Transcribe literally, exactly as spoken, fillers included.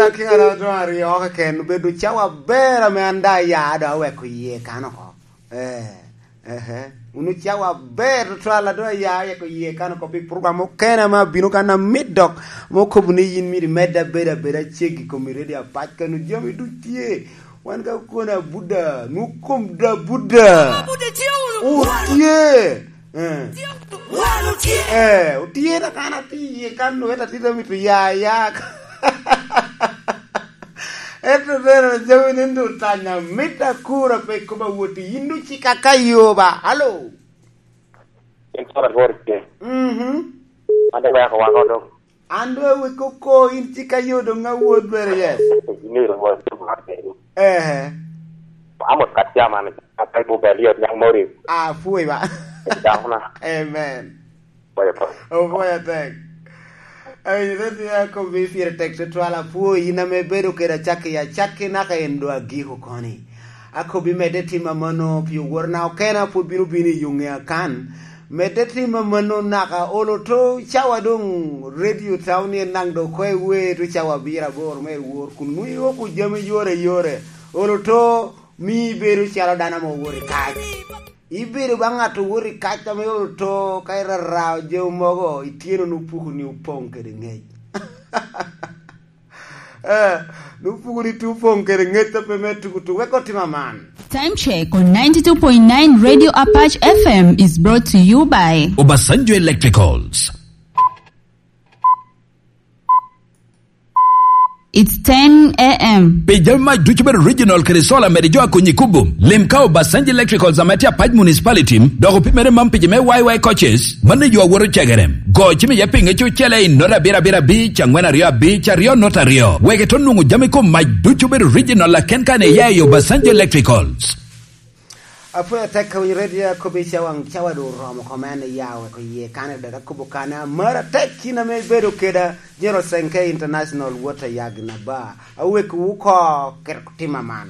Akina doŋ aryo keken obedo cawa aber ame an daŋ aya doŋ aweko yie kan oko. Eh, ehe. Wun ocawa aber tutwal a doŋ aya aweko yie kan oko pi program okene ame abino kan amit dok, ame okobo ni yin myero imed abedo abeda ceggi i kom i redio apac kano jami duc tye. Wan ka okone abuda, nwoŋo kom da buda. Abuda tye wunu. Otye. Eh. Wan otye. Eh, otye na kan atye iye kan, wet atye amito ya, ya. Ento bene jami ni ndu tanya mit akura pe koba woti, yin du cika ka yoba. Alo. In kara lworo tye. Mhm. An de weko wako dong. An doŋ awek oko, in cika yo doŋ awot bene, yes. Ni ro wa tu ma ke. Eh. Amo kat jama ni, akai bu bel yot nyaŋ mori. Ah, pwoyo ba. Dako na. Amen. Boy, boy. Oh, boy, I think. Ai, ret ya ko bi pire tek tutwal, apwoyi in ame ibedo kede acakki, acakki naka en doŋ agiko koni. Akobbi medde tim amanno, pi oworna okena pwod bino bino i yuŋe akan. Medde tim amanno naka olo to cawa doŋ radio town ni en naŋ doŋ ko i wer to cawa abiro aboro me wor kun nwoŋo iwoko jami yore yore. Olo to mi ibedo calo dano ame owoto i kac. Ibedo ba ŋat owoto i kac ame olo to ka irarao jami mogo, ityeno ni opuko ni opoŋ kede ŋec. Eh, ni opuko ni tu opoŋ kede ŋec a pe me tuku tuku. Wek otim aman. Time check on ninety-two point nine Radio Apache F M is brought to you by Obasanjo Electricals. It's ten a m. Pi jami mac ducu bedo original kede sola mede jo a konyi kubo. Lim ka Obasanjo Electricals ame tye Apac Municipality, dok opimere man pi jo me Y Y coaches, mano yo awoto cegere. Go cim iye pinge cucele i nota abiro abiro abic, angwen aryo abic, aryo nota aryo. Wek ito nwoŋo jami kom mac ducu bedo original aken kan iya i Obasanjo Electricals. Apwoyo tek ka winyo redio akobo i cawa, cawa doŋ oromo kome an iya weko iye kane dok akobo kane amara tek kin ame ibedo keda General Senke International Water Yagi na ba. Awek wu ko ket tim aman.